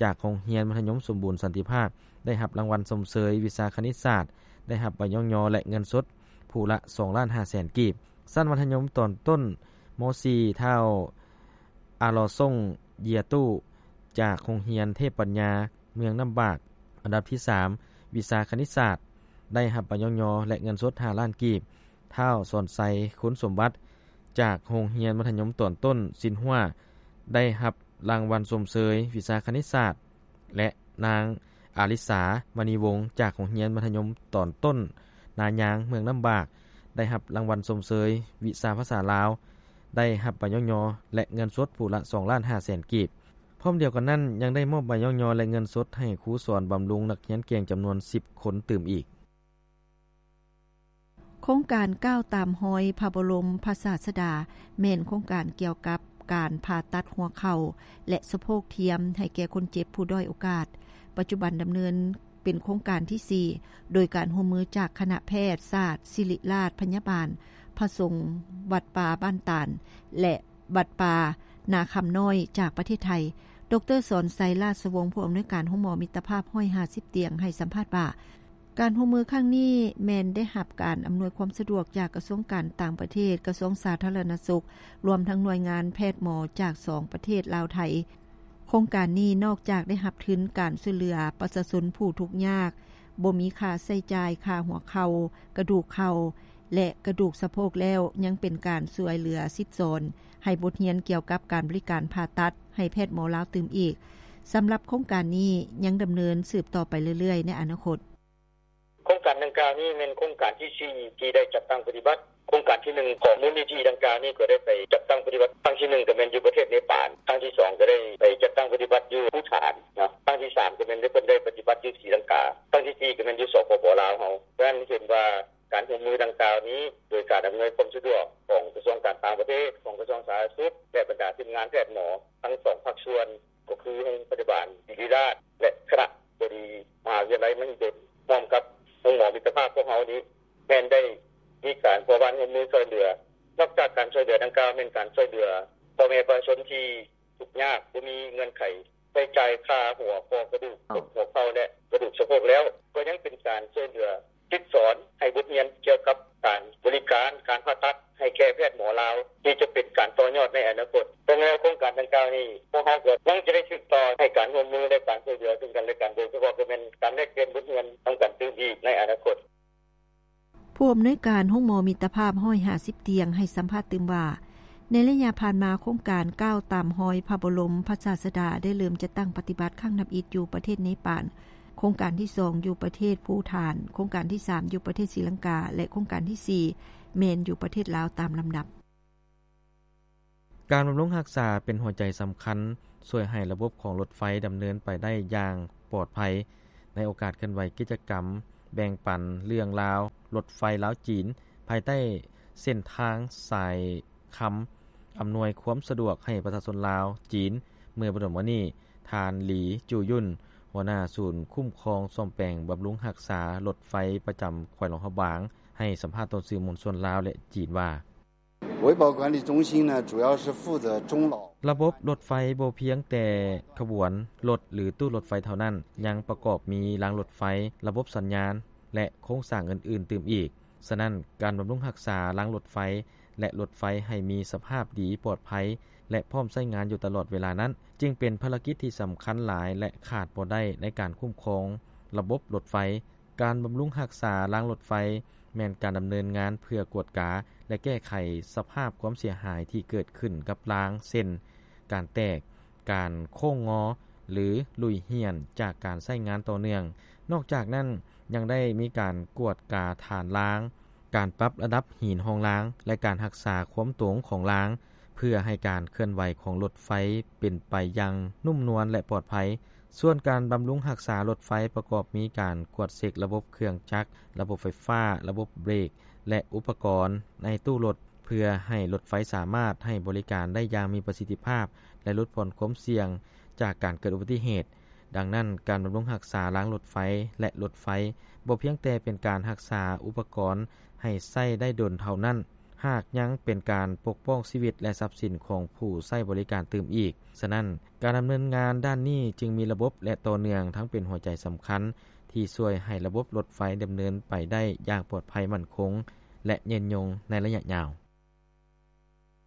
ຈາກໂຮງຮຽນມັດທະຍົມສົມບູນສັນຕິພາບ ໄດ້ຮັບລາງວັນຊົມເຊີຍວິຊາຄະນິດສາດ ໄດ້ຮັບໃບຍ້ອງຍໍ ແລະ ເງິນສົດຜູ້ລະສອງລ້ານຫ້າແສນກີບ. ຊັ້ນມັດທະຍົມຕອນຕົ້ນ ມໍສີ່ ທ້າວ ອາລໍສົ່ງ ເຢຍຕູ້ ຈາກໂຮງຮຽນເທບປັນຍາ ເມືອງນ້ຳບາກ ອັນດັບທີສາມ ວິຊາຄະນິດສາດ ໄດ້ຮັບໃບຍ້ອງຍໍ ແລະ ເງິນສົດຫ້າລ້ານກີບ. ທ້າວ ສອນໄຊ ຄຸນສົມບັດ ຈາກໂຮງຮຽນມັດທະຍົມຕອນຕົ້ນຊິນຮົວ ໄດ້ຮັບລາງວັນຊົມເຊີຍວິຊາຄະນິດສາດ ແລະ ນາງ ອາລິສາ ມະນີວົງ ຈາກໂຮງຮຽນມັດທະຍົມຕອນຕົ້ນນາຍາງ ເມືອງນ້ຳບາກ ໄດ້ຮັບລາງວັນຊົມເຊີຍວິຊາພາສາລາວ ໄດ້ຮັບໃບຍ້ອງຍໍ ແລະ ເງິນສົດຜູ້ລະສອງລ້ານຫ້າແສນກີບ. ພ້ອມດຽວກັນນັ້ນ, ຍັງໄດ້ມອບໃບຍ້ອງຍໍ ແລະ ເງິນສົດໃຫ້ຄູສອນບຳລຸງນັກຮຽນເກັ່ງຈຳນວນສິບຄົນຕື່ມອີກ. ຄງການກ້າວຕາມຮອຍພະບໍລົມພະສາດສະດາ ແມ່ນໂຄງການກ່ຽວກັບການຜ່າຕັດຫົວເຂົ່າ ແລະ ສະໂພກທຽມໃຫ້ແກ່ຄົນເຈັບຜູ້ດ້ອຍໂອກາດ. ປັດຈຸບັນດຳເນີນເປັນໂຄງການທີສີ່ ໂດຍການຮ່ວມມືຈາກຄະນະແພດສາດສິລິລາດພະຍາບານ ພະສົງວັດປ່າບ້ານຕານ ແລະ ວັດປ່ານາຄຳນ້ອຍຈາກປະເທດໄທ. ດຣ. ສອນໄຊ ລາຊະວົງ ຜູ້ອຳນວຍການໂຮງໝໍມິດຕະພາບຮ້ອຍຫ້າສິບຕຽງ ໃຫ້ສຳພາດວ່າ ການຮ່ວມມືຄັ້ງນີ້ແມ່ນໄດ້ຮັບການອຳນວຍຄວາມສະດວກຈາກກະຊວງການຕ່າງປະເທດ, ກະຊວງສາທາລະນະສຸກ, ລວມທັງໜ່ວຍງານແພດໝໍຈາກສອງປະເທດລາວ-ໄທ. ໂຄງການນີ້ນອກຈາກໄດ້ຮັບທຶນການຊ່ວຍເຫຼືອປະຊາຊົນຜູ້ທຸກຍາກ, ບໍ່ມີຄ່າໃຊ້ຈ່າຍຄ່າຫົວເຂົ່າ, ກະດູກເຂົ່າ ແລະ ກະດູກສະໂພກແລ້ວ, ຍັງເປັນການຊ່ວຍເຫຼືອສິດສອນໃຫ້ບົດຮຽນກ່ຽວກັບການບໍລິການຜ່າຕັດໃຫ້ແພດໝໍລາວຕື່ມອີກ. ສຳລັບໂຄງການນີ້ຍັງດຳເນີນສືບຕໍ່ໄປເລື້ອຍໆໃນອະນາຄົດ. ໂຄງການດັ່ງກ່າວນີ້ແມ່ນໂຄງການທີສີ່ ທີ່ໄດ້ຈັດຕັ້ງປະຕິບັດ. ໂຄງການທີໜຶ່ງຂອງມູນນິທິດັ່ງກ່າວນີ້ກໍໄດ້ໄປຈັດຕັ້ງປະຕິບັດ. ຄັ້ງທີໜຶ່ງກໍແມ່ນຢູ່ປະເທດເນປານ, ຄັ້ງທີສອງກໍໄດ້ໄປຈັດຕັ້ງປະຕິບັດຢູ່ພູຖານເນາະ, ຄັ້ງທີສາມກໍແມ່ນໄດ້ ເພິ່ນໄດ້ປະຕິບັດຢູ່ສີລັງກາ, ຄັ້ງທີສີ່ກໍແມ່ນຢູ່ ສປປ ລາວເຮົາ. ສະນັ້ນເຫັນວ່າການຮ່ວມມືດັ່ງກ່າວນີ້ ໂດຍການອຳນວຍຄວາມສະດວກຂອງກະຊວງການຕ່າງປະເທດ, ຂອງກະຊວງສາທາລະນະສຸກ ແລະ ບັນດາທີມງານແພດໝໍທັງສອງພາກສ່ວນ ກໍຄືໂຮງພະຍາບານສິລິລາດ ແລະ ຄະນະບໍດີມະຫາວິທະຍາໄລມະຫິດົນ ຮ່ວມກັບໂຮງໝໍມິດຕະພາບພວກເຮົານີ້ ແມ່ນໄດ້ມີການພົວພັນຮ່ວມມືຊ່ວຍເຫຼືອ. ນອກຈາກການຊ່ວຍເຫຼືອດັ່ງກ່າວ ແມ່ນການຊ່ວຍເຫຼືອພໍ່ແມ່ປະຊາຊົນທີ່ທຸກຍາກ ບໍ່ມີເງື່ອນໄຂໃຊ້ຈ່າຍຄ່າຫົວຂໍ້ກະດູກ, ກົກຫົວເຂົ່າ ແລະ ກະດູກສະໂພກແລ້ວ, ກໍຍັງເປັນການຊ່ວຍເຫຼືອ ສິດສອນໃຫ້ບົດຮຽນກ່ຽວກັບການບໍລິການການຜ່າຕັດໃຫ້ແກ່ແພດໝໍລາວ ທີ່ຈະເປັນການຕໍ່ຍອດໃນອະນາຄົດ. ແຕ່ແນວໂຄງການດັ່ງກ່າວນີ້ ພວກເຮົາກໍຍັງຈະໄດ້ສືບຕໍ່ໃຫ້ການຮ່ວມມື ແລະ ການຊ່ວຍເຫຼືອຊຶ່ງກັນແລະກັນ, ໂດຍສະເພາະກໍແມ່ນການແລກປ່ຽນບົດຮຽນນຳກັນຕື່ມອີກໃນອະນາຄົດ. ຜູ້ອຳນວຍການໂຮງໝໍມິດຕະພາບຮ້ອຍຫ້າສິບຕຽງໃຫ້ສຳພາດຕື່ມວ່າ ໃນໄລຍະຜ່ານມາ ໂຄງການກ້າວຕາມຮອຍພະບໍລົມພະສາດສະດາ ໄດ້ເລີ່ມຈັດຕັ້ງປະຕິບັດຄັ້ງທຳອິດຢູ່ປະເທດເນປານ, ໂຄງການທີສອງຢູ່ປະເທດພູຖານ, ໂຄງການທີສາມຢູ່ປະເທດສີລັງກາ ແລະ ໂຄງການທີສີ່ແມ່ນຢູ່ປະເທດລາວຕາມລຳດັບ. ການບຳລຸງຮັກສາເປັນຫົວໃຈສຳຄັນ ຊ່ວຍໃຫ້ລະບົບຂອງລົດໄຟດຳເນີນໄປໄດ້ຢ່າງປອດໄພ. ໃນໂອກາດເຄື່ອນໄຫວກິດຈະກຳແບ່ງປັນເລື່ອງລາວລົດໄຟລາວ-ຈີນ ພາຍໃຕ້ເສັ້ນທາງສາຍຄຳ ອຳນວຍຄວາມສະດວກໃຫ້ປະຊາຊົນລາວ-ຈີນ ເມື່ອບໍ່ດົນມານີ້, ທ່ານ ຫຼີ ຈູຍຸນ ຫົວໜ້າສູນຄຸ້ມຄອງສ້ອມແປງບຳລຸງຮັກສາລົດໄຟປະຈຳແຂວງຫຼວງພະບາງ ໃຫ້ສຳພາດຕໍ່ສື່ມວນຊົນລາວ ແລະ ຈີນວ່າ: 维保管理中心呢，主要是负责中老。 ລະບົບລົດໄຟບໍ່ພຽງແຕ່ຂະບວນລົດ ຫຼື ຕູ້ລົດໄຟເທົ່ານັ້ນ, ຍັງປະກອບມີລາງລົດໄຟ, ລະບົບສັນຍານ ແລະ ໂຄງສ້າງອື່ນໆຕື່ມອີກ. ສະນັ້ນ, ການບຳລຸງຮັກສາລາງລົດໄຟ ແລະ ລົດໄຟໃຫ້ມີສະພາບດີ, ປອດໄພ ແລະ ພ້ອມໃຊ້ງານຢູ່ຕະຫຼອດເວລານັ້ນ ຈຶ່ງເປັນພາລະກິດທີ່ສຳຄັນຫຼາຍ ແລະ ຂາດບໍ່ໄດ້ໃນການຄຸ້ມຄອງລະບົບລົດໄຟ. ການບຳລຸງຮັກສາລາງລົດໄຟ ແມ່ນການດຳເນີນງານເພື່ອກວດກາ ແລະ ແກ້ໄຂສະພາບຄວາມເສຍຫາຍທີ່ເກີດຂຶ້ນກັບລາງ ເຊັ່ນ ການແຕກ, ການໂຄ້ງງໍ ຫຼື ຫຼຸຍຫ້ຽນຈາກການໃຊ້ງານຕໍ່ເນື່ອງ. ນອກຈາກນັ້ນ, ຍັງໄດ້ມີການກວດກາຖານລາງ, ການປັບລະດັບຫີນຮອງລາງ ແລະ ການຮັກສາຄວາມຕົງຂອງລາງ ເພື່ອໃຫ້ການເຄື່ອນໄຫວຂອງລົດໄຟເປັນໄປຢ່າງນຸ້ມນວນ ແລະ ປອດໄພ. ສ່ວນການບຳລຸງຮັກສາລົດໄຟປະກອບມີການກວດເຊັກລະບົບເຄື່ອງຈັກ, ລະບົບໄຟຟ້າ, ລະບົບເບຣກ ແລະ ອຸປະກອນໃນຕູ້ລົດ ເພື່ອໃຫ້ລົດໄຟສາມາດໃຫ້ບໍລິການໄດ້ຢ່າງມີປະສິດທິພາບ ແລະ ຫຼຸດຜ່ອນຄວາມສ່ຽງຈາກການເກີດອຸບັດຕິເຫດ. ດັ່ງນັ້ນ, ການບຳລຸງຮັກສາລາງລົດໄຟ ແລະ ລົດໄຟ ບໍ່ພຽງແຕ່ເປັນການຮັກສາອຸປະກອນໃຫ້ໃຊ້ໄດ້ດົນເທົ່ານັ້ນ, ຫາກຍັງເປັນການປົກປ້ອງຊີວິດ ແລະ ຊັບສິນຂອງຜູ້ໃຊ້ບໍລິການຕື່ມອີກ. ສະນັ້ນ, ການດຳເນີນງານດ້ານນີ້ຈຶ່ງມີລະບົບ ແລະ ຕໍ່ເນື່ອງ, ທັງເປັນຫົວໃຈສຳຄັນທີ່ຊ່ວຍໃຫ້ລະບົບລົດໄຟດຳເນີນໄປໄດ້ຢ່າງປອດໄພ, ໝັ້ນຄົງ ແລະ ຍືນຍົງໃນໄລຍະຍາວ.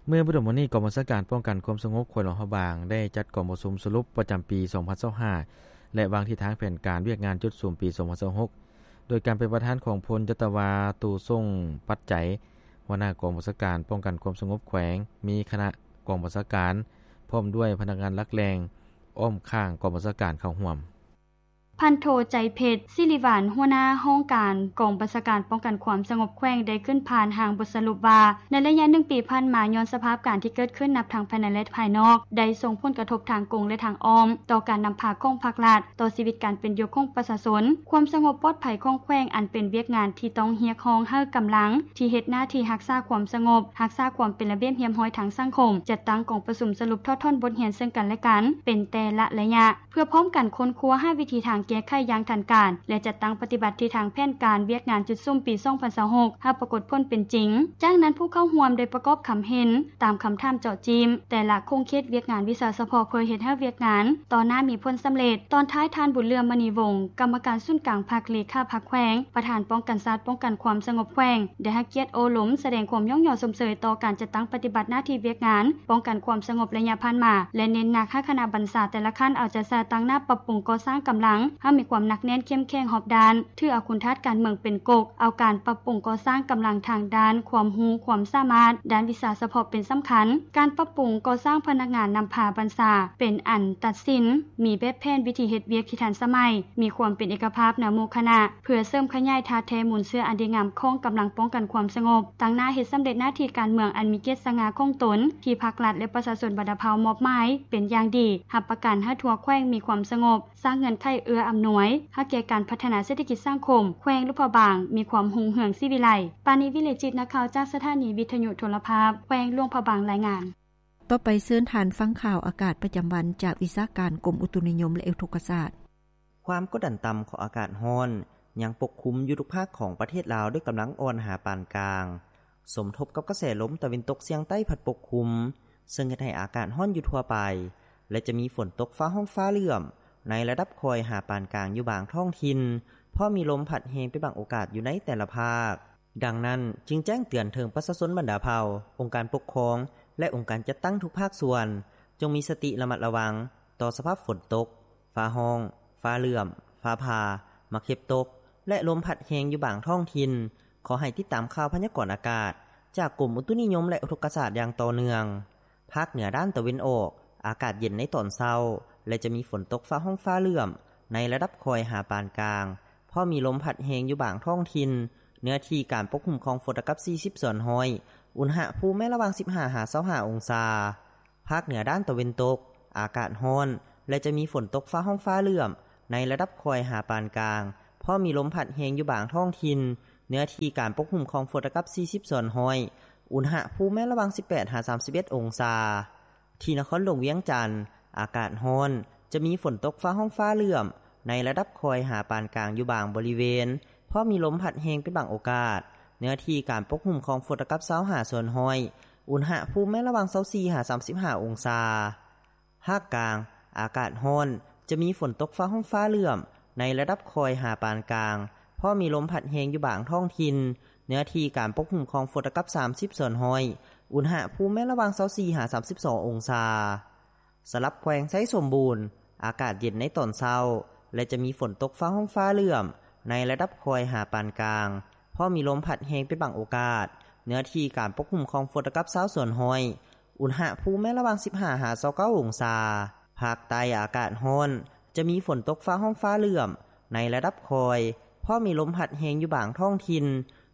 ເມື່ອບໍ່ດົນມານີ້, ກອງບັນຊາການປ້ອງກັນຄວາມສະຫງົບແຂວງຫຼວງພະບາງ ໄດ້ຈັດກອງປະຊຸມສະຫຼຸບປະຈຳປີສອງພັນຊາວຫ້າ ແລະ ວາງທິດທາງແຜນການວຽກງານຈຸດສຸມປີສອງພັນຊາວຫົກ ໂດຍການເປັນປະທານຂອງ ພົນຈັດຕະວາ ຕູສົງ ປັດໄຈ ຫົວໜ້າກອງບັນຊາການປ້ອງກັນຄວາມສະຫງົບແຂວງ, ມີຄະນະກອງບັນຊາການ ພ້ອມດ້ວຍພະນັກງານຫຼັກແຫຼ່ງ ອ້ອມຂ້າງກອງບັນຊາການເຂົ້າຮ່ວມ. ພັນໂທ ໃຈເພັດ ສິລິຫວານ ຫົວໜ້າຫ້ອງການກອງບັນຊາການປ້ອງກັນຄວາມສະຫງົບແຂວງ ໄດ້ຂຶ້ນຜ່ານຮ່າງບົດສະຫຼຸບວ່າ ໃນໄລຍະໜຶ່ງປີຜ່ານມາ ຍ້ອນສະພາບການທີ່ເກີດຂຶ້ນນັບທັງພາຍໃນ ແລະ ພາຍນອກ ໄດ້ສົ່ງຜົນກະທົບທາງກົງ ແລະ ທາງອ້ອມ ຕໍ່ການນຳພາຂອງພາກລັດ, ຕໍ່ຊີວິດການເປັນຢູ່ຂອງປະຊາຊົນ, ຄວາມສະຫງົບປອດໄພຂອງແຂວງ ອັນເປັນວຽກງານທີ່ຕ້ອງຮຽກຮ້ອງໃຫ້ກຳລັງທີ່ເຮັດໜ້າທີ່ຮັກສາຄວາມສະຫງົບ, ຮັກສາຄວາມເປັນລະບຽບຮຽບຮ້ອຍທາງສັງຄົມ ຈັດຕັ້ງກອງປະຊຸມສະຫຼຸບຖອດຖອນບົດຮຽນເຊິ່ງກັນ ແລະ ກັນ ເປັນແຕ່ລະໄລຍະ ເພື່ອພ້ອມກັນຄົ້ນຄວ້າຫາວິທີທາງແກ້ໄຂຢ່າງທັນການ ແລະ ຈັດຕັ້ງປະຕິບັດທິດທາງແຜນການວຽກງານຈຸດສຸມປີສອງພັນຊາວຫົກ ໃຫ້ປາກົດຜົນເປັນຈິງ. ຈາກນັ້ນ ຜູ້ເຂົ້າຮ່ວມໄດ້ປະກອບຄຳເຫັນຕາມຄຳຖາມເຈາະຈີ້ມແຕ່ລະຂົງເຂດວຽກງານວິຊາສະເພາະ ເພື່ອເຮັດໃຫ້ວຽກງານຕໍ່ໜ້າມີຜົນສຳເລັດ. ຕອນທ້າຍ ທ່ານ ບຸນເຫຼືອມ ມະນີວົງ ກຳມະການສູນກາງພັກ ເລຂາພັກແຂວງ ປະທານປ້ອງກັນຊາດ ປ້ອງກັນຄວາມສະຫງົບແຂວງ ໄດ້ໃຫ້ກຽດໂອ້ລົມສະແດງຄວາມຍ້ອງຍໍຊົມເຊີຍຕໍ່ການຈັດຕັ້ງປະຕິບັດໜ້າທີ່ວຽກງານປ້ອງກັນຄວາມສະຫງົບໄລຍະຜ່ານມາ ແລະ ເນັ້ນໜັກໃຫ້ຄະນະບັນຊາແຕ່ລະຂັ້ນເອົາໃຈໃສ່ຕັ້ງໜ້າປັບປຸງກໍ່ສ້າງກຳລັງໃຫ້ມີຄວາມໜັກແໜ້ນເຂັ້ມແຂງຮອບດ້ານ, ຖືເອົາຄຸນທາດການເມືອງເປັນກົກ, ເອົາການປັບປຸງກໍ່ສ້າງກຳລັງທາງດ້ານຄວາມຮູ້ຄວາມສາມາດ, ດ້ານວິຊາສະເພາະເປັນສຳຄັນ. ການປັບປຸງກໍ່ສ້າງພະນັກງານນຳພາບັນຊາເປັນອັນຕັດສິນ, ມີແບບແຜນວິທີເຮັດວຽກທີ່ທັນສະໄໝ, ມີຄວາມເປັນເອກະພາບໃນໝູ່ຄະນະ ເພື່ອເສີມຂະຫຍາຍທາດແທ້ມູນເຊື້ອອັນດີງາມຂອງກຳລັງປ້ອງກັນຄວາມສະຫງົບ, ຕັ້ງໜ້າເຮັດສຳເລັດໜ້າທີ່ການເມືອງອັນມີກຽດສະຫງ່າຂອງຕົນ ທີ່ພັກລັດ ແລະ ປະຊາຊົນບັນດາເຜົ່າມອບໝາຍເປັນຢ່າງດີ, ຮັບປະກັນໃຫ້ທົ່ວແຂວງມີຄວາມສະຫງົບ, ສ້າງເງື່ອນໄຂເອື້ອອຳນວຍໃຫ້ແກ່ການພັດທະນາເສດຖະກິດສັງຄົມແຂວງຫຼວງພະບາງມີຄວາມຮຸ່ງເຮືອງສີວິໄລ. ປານີ ວິເລຈິດ ນັກຂ່າວຈາກສະຖານີວິທະຍຸໂທລະພາບແຂວງຫຼວງພະບາງ ລາຍງານ. ຕໍ່ໄປເຊີນທ່ານຟັງຂ່າວອາກາດປະຈຳວັນຈາກວິຊາການກົມອຸຕຸນິຍົມ ແລະ ອຸທົກກະສາດ. ຄວາມກົດດັນຕ່ຳຂອງອາກາດຮ້ອນຍັງປົກຄຸມຢູ່ທຸກພາກຂອງປະເທດລາວດ້ວຍກຳລັງອ່ອນຫາປານກາງ, ສົມທົບກັບກະແສລົມຕາເວັນຕົກສຽງໃຕ້ພັດປົກຄຸມ, ເຊິ່ງເຮັດໃຫ້ອາກາດຮ້ອນຢູ່ທົ່ວໄປ ແລະ ຈະມີຝົນຕົກຟ້າຮ້ອງຟ້າເຫຼື້ອມໃນລະດັບຄ່ອຍຫາປານກາງຢູ່ບາງທ້ອງຖິ່ນ, ພ້ອມມີລົມພັດແຮງເປັນບາງໂອກາດຢູ່ໃນແຕ່ລະພາກ. ດັ່ງນັ້ນ, ຈຶ່ງແຈ້ງເຕືອນເຖິງປະຊາຊົນບັນດາເຜົ່າ, ອົງການປົກຄອງ ແລະ ອົງການຈັດຕັ້ງທຸກພາກສ່ວນ ຈົ່ງມີສະຕິລະມັດລະວັງຕໍ່ສະພາບຝົນຕົກ, ຟ້າຮ້ອງ, ຟ້າເຫຼື້ອມ, ຟ້າຜ່າ, ໝາກເຫັບຕົກ ແລະ ລົມພັດແຮງຢູ່ບາງທ້ອງຖິ່ນ. ຂໍໃຫ້ຕິດຕາມຂ່າວພະຍາກອນອາກາດຈາກກົມອຸຕຸນິຍົມ ແລະ ອຸທົກກະສາດຢ່າງຕໍ່ເນື່ອງ. ພາກເໜືອດ້ານຕາເວັນອອກ, ອາກາດເຢັນໃນຕອນເຊົ້າ ແລະ ຈະມີຝົນຕົກຟ້າຮ້ອງຟ້າເຫຼື້ອມໃນລະດັບຄ່ອຍຫາປານກາງ, ພ້ອມມີລົມພັດແຮງຢູ່ບາງທ້ອງຖິ່ນ, ເນື້ອທີ່ການປົກຄຸມຂອງຝົນລະກັບສີ່ສິບສ່ວນຮ້ອຍ, ອຸນຫະພູມແມ່ນລະຫວ່າງສິບຫ້າຫາຊາວຫ້າອົງສາ. ພາກເໜືອດ້ານຕາເວັນຕົກ, ອາກາດຮ້ອນ ແລະ ຈະມີຝົນຕົກຟ້າຮ້ອງຟ້າເຫຼື້ອມໃນລະດັບຄ່ອຍຫາປານກາງ, ພ້ອມມີລົມພັດແຮງຢູ່ບາງທ້ອງຖິ່ນ, ເນື້ອທີ່ການປົກຄຸມຂອງຝົນລະກັບສີ່ສິບສ່ວນຮ້ອຍ, ອຸນຫະພູມແມ່ນລະຫວ່າງສິບແປດຫາສາມສິບເອັດອົງສາ. ທີ່ນະຄອນຫຼວງວຽງຈັນ, ອາກາດຮ້ອນ, ຈະມີຝົນຕົກຟ້າຮ້ອງຟ້າເຫຼື້ອມໃນລະດັບຄ່ອຍຫາປານກາງຢູ່ບາງບໍລິເວນ, ພ້ອມມີລົມພັດແຮງເປັນບາງໂອກາດ, ເນື້ອທີ່ການປົກຄຸມຂອງຝົນລະກັບຊາວຫ້າສ່ວນຮ້ອຍ, ອຸນຫະພູມແມ່ນລະຫວ່າງຊາວສີ່ຫາສາມສິບຫ້າອົງສາ. ພາກກາງ, ອາກາດຮ້ອນ, ຈະມີຝົນຕົກຟ້າຮ້ອງຟ້າເຫຼື້ອມໃນລະດັບຄ່ອຍຫາປານກາງ, ພ້ອມມີລົມພັດແຮງຢູ່ບາງທ້ອງຖິ່ນ, ເນື້ອທີ່ການປົກຄຸມຂອງຝົນລະກັບສາມສິບສ່ວນຮ້ອຍ, ອຸນຫະພູມແມ່ນລະຫວ່າງຊາວສີ່ຫາສາມສິບສອງອົງສາ. ສຳລັບແຂວງໄຊສົມບູນ, ອາກາດເຢັນໃນຕອນເຊົ້າ ແລະ ຈະມີຝົນຕົກຟ້າຮ້ອງຟ້າເຫຼື້ອມໃນລະດັບຄ່ອຍຫາປານກາງ, ພ້ອມມີລົມພັດແຮງເປັນບາງໂອກາດ, ເນື້ອທີ່ການປົກຄຸມຂອງຝົນລະກັບຊາວສ່ວນຮ້ອຍ, ອຸນຫະພູມແມ່ນລະຫວ່າງສິບຫ້າຫາຊາວເກົ້າອົງສາ. ພາກໃຕ້ອາກາດຮ້ອນ, ຈະມີຝົນຕົກຟ້າຮ້ອງຟ້າເຫຼື້ອມໃນລະດັບຄ່ອຍ, ພ້ອມມີລົມພັດແຮງຢູ່ບາງທ້ອງຖິ່ນ,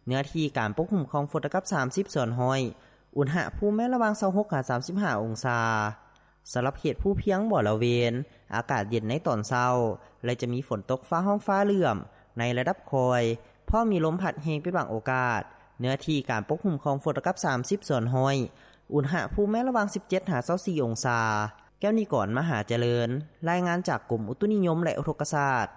ເນື້ອທີ່ການປົກຄຸມຂອງຝົນລະກັບສາມສິບສ່ວນຮ້ອຍ, ອຸນຫະພູມແມ່ນລະຫວ່າງຊາວຫົກຫາສາມສິບຫ້າອົງສາ. ສຳລັບເຂດພູພຽງບໍລະເວນ, ອາກາດເຢັນໃນຕອນເຊົ້າ ແລະ ຈະມີຝົນຕົກຟ້າຮ້ອງຟ້າເຫຼື້ອມໃນລະດັບຄ່ອຍ, ພ້ອມມີລົມພັດແຮງເປັນບາງໂອກາດ, ເນື້ອທີ່ການປົກຄຸມຂອງຝົນລະກັບສາມສິບສ່ວນຮ້ອຍ, ອຸນຫະພູມແມ່ນລະຫວ່າງສິບເຈັດຫາຊາວສີ່ອົງສາ. ແກ້ວນິກອນ ມະຫາຈະເລີນ, ລາຍງານຈາກກົມອຸຕຸນິຍົມ ແລະ ອຸທົກກະສາດ.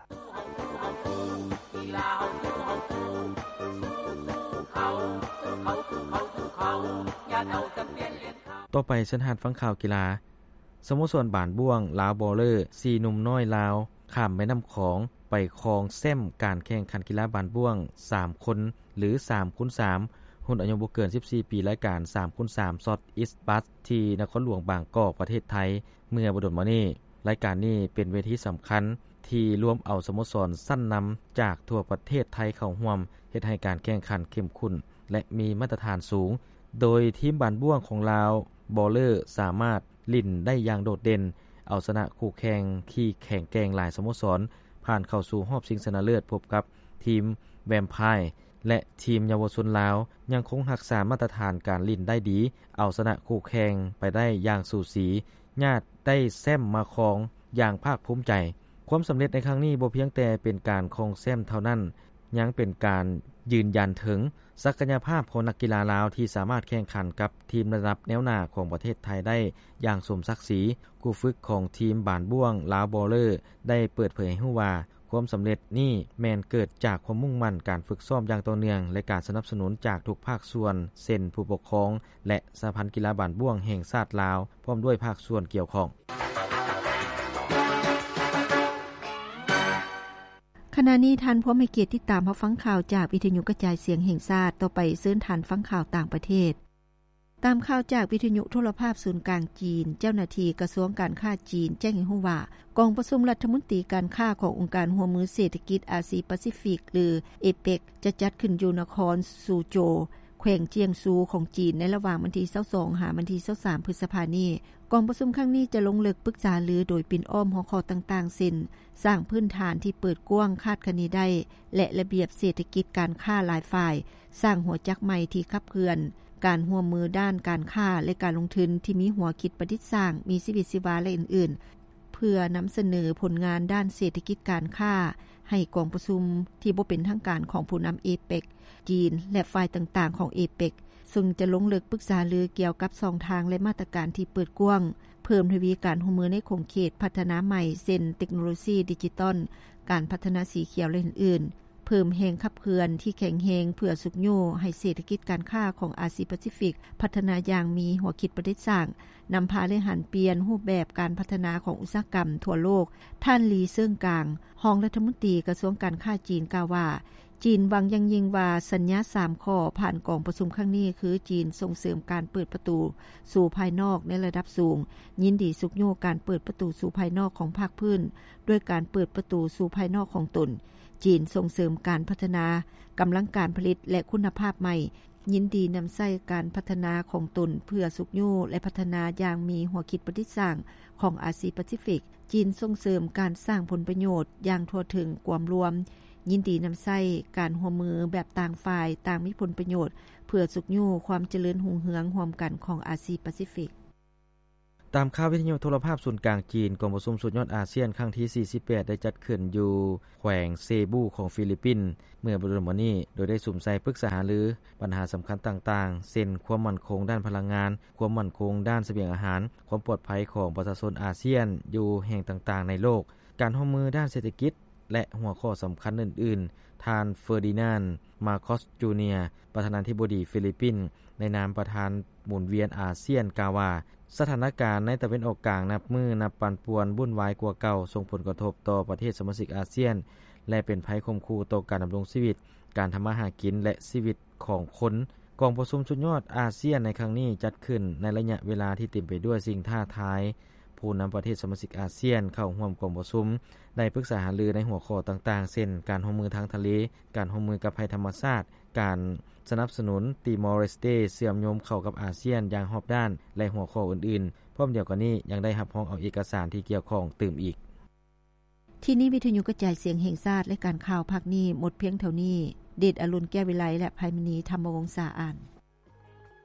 ຕໍ່ໄປເຊີນທ່ານຟັງຂ່າວກິລາ. ສະໂມສອນບານບ້ວງລາວບໍເລີ ສີ່ໜຸ່ມນ້ອຍລາວ ຂ້າມແມ່ນ້ຳຂອງໄປຄອງແຊ້ມການແຂ່ງຂັນກິລາບານບ້ວງສາມຄົນ ຫຼື ສາມຄູນສາມ ຮຸ່ນອາຍຸບໍ່ເກີນສິບສີ່ປີ ລາຍການສາມຄູນສາມ ຊອດອິສບັດ ທີ່ນະຄອນຫຼວງບາງກອກ ປະເທດໄທ ເມື່ອບໍ່ດົນມານີ້. ລາຍການນີ້ເປັນເວທີສຳຄັນທີ່ລວມເອົາສະໂມສອນຊັ້ນນຳຈາກທົ່ວປະເທດໄທເຂົ້າຮ່ວມ, ເຮັດໃຫ້ການແຂ່ງຂັນເຂັ້ມຂຸ້ນ ແລະ ມີມາດຕະຖານສູງ, ໂດຍທີມບານບ້ວງຂອງລາວ ບໍເລີ ສາມາດຫຼິ້ນໄດ້ຢ່າງໂດດເດັ່ນ, ເອົາຊະນະຄູ່ແຂ່ງທີ່ແຂງແກ່ງຫຼາຍສະໂມສອນ ຜ່ານເຂົ້າສູ່ຮອບຊິງຊະນະເລີດ ພົບກັບທີມແວມພາຍ ແລະ ທີມເຍົາວະຊົນລາວ ຍັງຄົງຮັກສາມາດຕະຖານການຫຼິ້ນໄດ້ດີ, ເອົາຊະນະຄູ່ແຂ່ງໄປໄດ້ຢ່າງສູສີ, ຍາດໄດ້ແຊ້ມມາຄອງຢ່າງພາກພູມໃຈ. ຄວາມສຳເລັດໃນຄັ້ງນີ້ບໍ່ພຽງແຕ່ເປັນການຄອງແຊ້ມເທົ່ານັ້ນ, ຍັງເປັນການຢືນຢັນເຖິງສັກກະຍະພາບຂອງນັກກິລາລາວທີ່ສາມາດແຂ່ງຂັນກັບທີມລະດັບແນວໜ້າຂອງປະເທດໄທໄດ້ຢ່າງສົມສັກສີ. ຄູຝຶກຂອງທີມບານບ້ວງລາວບໍເລີ ໄດ້ເປີດເຜີຍໃຫ້ຮູ້ວ່າ ຄວາມສຳເລັດນີ້ແມ່ນເກີດຈາກຄວາມມຸ່ງໝັ້ນ, ການຝຶກຊ້ອມຢ່າງຕໍ່ເນື່ອງ ແລະ ການສະໜັບສະໜູນຈາກທຸກພາກສ່ວນ ເຊັ່ນ ຜູ້ປົກຄອງ ແລະ ສະຫະພັນກິລາບານບ້ວງແຫ່ງຊາດລາວ ພ້ອມດ້ວຍພາກສ່ວນກ່ຽວຂ້ອງ. ຂະນະນີ້ທ່ານພວມໃຫ້ກຽດຕິດຕາມຮັບຟັງຂ່າວຈາກວິທະຍຸກະຈາຍສຽງແຫ່ງຊາດ. ຕໍ່ໄປເຊີນທ່ານຟັງຂ່າວຕ່າງປະເທດ. ຕາມຂ່າວຈາກວິທະຍຸໂທລະພາບສູນກາງຈີນ, ເຈົ້າໜ້າທີ່ກະຊວງການຄ້າຈີນແຈ້ງໃຫ້ຮູ້ວ່າ ກອງປະຊຸມລັດຖະມົນຕີການຄ້າຂອງອົງການຮ່ວມມືເສດຖະກິດອາຊີປາຊີຟິກ ຫຼື ເອເປັກ ຈະຈັດຂຶ້ນຢູ່ນະຄອນຊູໂຈວ ແຂວງຈຽງຊູຂອງຈີນ ໃນລະຫວ່າງວັນທີຊາວສອງ ຫາວັນທີຊາວສາມ ພຶດສະພານີ້. ກອງປະຊຸມຄັ້ງນີ້ຈະລົງເລິກປຶກສາຫາລືໂດຍປິ່ນອ້ອມຫົວຂໍ້ຕ່າງໆ ເຊັ່ນ ສ້າງພື້ນຖານທີ່ເປີດກວ້າງຄາດຄະເນໄດ້ ແລະ ລະບຽບເສດຖະກິດການຄ້າຫຼາຍຝ່າຍ, ສ້າງຫົວຈັກໃໝ່ທີ່ຂັບເຄື່ອນການຮ່ວມມືດ້ານການຄ້າ ແລະ ການລົງທຶນທີ່ມີຫົວຄິດປະດິດສ້າງ, ມີຊີວິດຊີວາ ແລະ ອື່ນໆ. ເພື່ອນຳສະເໜີຜົນງານດ້ານເສດຖະກິດການຄ້າ ໃຫ້ກອງປະຊຸມທີ່ບໍ່ເປັນທາງການຂອງຜູ້ນຳເອເປັກ ຈີນ ແລະ ຝ່າຍຕ່າງໆຂອງເອເປັກ ເຊິ່ງຈະລົງເລິກປຶກສາຫາລືກ່ຽວກັບຊ່ອງທາງ ແລະ ມາດຕະການທີ່ເປີດກວ້າງ, ເພີ່ມທະວີການຮ່ວມມືໃນຂົງເຂດພັດທະນາໃໝ່ ເຊັ່ນ ເຕັກໂນໂລຊີດິຈິຕອນ, ການພັດທະນາສີຂຽວ ແລະ ອື່ນໆ, ເພີ່ມແຮງຂັບເຄື່ອນທີ່ແຂງແຮງເພື່ອຊຸກຍູ້ໃຫ້ເສດຖະກິດການຄ້າຂອງອາຊີປາຊີຟິກພັດທະນາຢ່າງມີຫົວຄິດປະດິດສ້າງ, ນຳພາ ແລະ ຫັນປ່ຽນຮູບແບບການພັດທະນາຂອງອຸດສາຫະກຳທົ່ວໂລກ. ທ່ານ ລີ ເຊີງກາງ ຮອງລັດຖະມົນຕີກະຊວງການຄ້າຈີນ ກ່າວວ່າ ຈີນຫວັງຢ່າງຍິ່ງວ່າສັນຍາສາມຂໍ້ຜ່ານກອງປະຊຸມຄັ້ງນີ້ ຄື ຈີນສົ່ງເສີມການເປີດປະຕູສູ່ພາຍນອກໃນລະດັບສູງ, ຍິນດີຊຸກຍູ້ການເປີດປະຕູສູ່ພາຍນອກຂອງພາກພື້ນ ດ້ວຍການເປີດປະຕູສູ່ພາຍນອກຂອງຕົນ, ຈີນສົ່ງເສີມການພັດທະນາກຳລັງການຜະລິດ ແລະ ຄຸນນະພາບໃໝ່, ຍິນດີນຳໃຊ້ການພັດທະນາຂອງຕົນເພື່ອຊຸກຍູ້ ແລະ ພັດທະນາຢ່າງມີຫົວຄິດປະດິດສ້າງຂອງອາຊີປາຊີຟິກ, ຈີນສົ່ງເສີມການສ້າງຜົນປະໂຫຍດຢ່າງທົ່ວເຖິງກວມລວມ, ຍິນດີນຳໃຊ້ການຮ່ວມມືແບບຕ່າງຝ່າຍຕ່າງມີຜົນປະໂຫຍດ ເພື່ອຊຸກຍູ້ຄວາມຈະເລີນຮຸ່ງເຮືອງຮ່ວມກັນຂອງອາຊີປາຊີຟິກ. ຕາມຂ່າວວິທະຍຸໂທລະພາບສູນກາງຈີນ, ກອງປະຊຸມສຸດຍອດອາຊຽນຄັ້ງທີສີ່ສິບແປດ ໄດ້ຈັດຂຶ້ນຢູ່ແຂວງເຊບູຂອງຟີລິບປິນ ເມື່ອບໍ່ດົນມານີ້, ໂດຍໄດ້ສຸມໃສ່ປຶກສາຫາລືບັນຫາສຳຄັນຕ່າງໆ ເຊັ່ນ ຄວາມໝັ້ນຄົງດ້ານພະລັງງານ, ຄວາມໝັ້ນຄົງດ້ານສະບຽງອາຫານ, ຄວາມປອດໄພຂອງປະຊາຊົນອາຊຽນຢູ່ແຫ່ງຕ່າງໆໃນໂລກ, ການຮ່ວມມືດ້ານເສດຖະກິດ ແລະ ຫົວຂໍ້ສຳຄັນອື່ນໆ. ທ່ານ ເຟີດີນານ ມາຄອສ ຈູເນຍ ປະທານາທິບໍດີຟີລິບປິນ ໃນນາມປະທານໝູນວຽນອາຊຽນ ກ່າວວ່າ ສະຖານະການໃນຕາເວັນອອກກາງນັບມື້ນັບປັ່ນປ່ວນວຸ່ນວາຍກວ່າເກົ່າ, ສົ່ງຜົນກະທົບຕໍ່ປະເທດສະມາຊິກອາຊຽນ ແລະ ເປັນໄພຂົ່ມຂູ່ຕໍ່ການດຳລົງຊີວິດ, ການທຳມາຫາກິນ ແລະ ຊີວິດຂອງຄົນ. ກອງປະຊຸມສຸດຍອດອາຊຽນໃນຄັ້ງນີ້ຈັດຂຶ້ນໃນໄລຍະເວລາທີ່ເຕັມໄປດ້ວຍສິ່ງທ້າທາຍ. ຜູ້ນຳປະເທດສະມາຊິກອາຊຽນເຂົ້າຮ່ວມກອງປະຊຸມ ໄດ້ປຶກສາຫາລືໃນຫົວຂໍ້ຕ່າງໆ ເຊັ່ນ ການຮ່ວມມືທາງທະເລ, ການຮ່ວມມືກັບໄພທຳມະຊາດ, ການສະໜັບສະໜູນຕີມໍເລສເຕເຊື່ອມໂຍງເຂົ້າກັບອາຊຽນຢ່າງຮອບດ້ານ ແລະ ຫົວຂໍ້ອື່ນໆ. ພ້ອມດຽວກັນນີ້ ຍັງໄດ້ຮັບຮອງເອົາເອກະສານທີ່ກ່ຽວຂ້ອງຕື່ມອີກ. ທີ່ນີ້ວິທະຍຸກະຈາຍສຽງແຫ່ງຊາດ ລາຍການຂ່າວພາກນີ້ໝົດພຽງເທົ່ານີ້. ເດດອະລຸນ ແກ້ວວິໄລ ແລະ ໄພມະນີ ທຳມະວົງສາ ອ່ານ.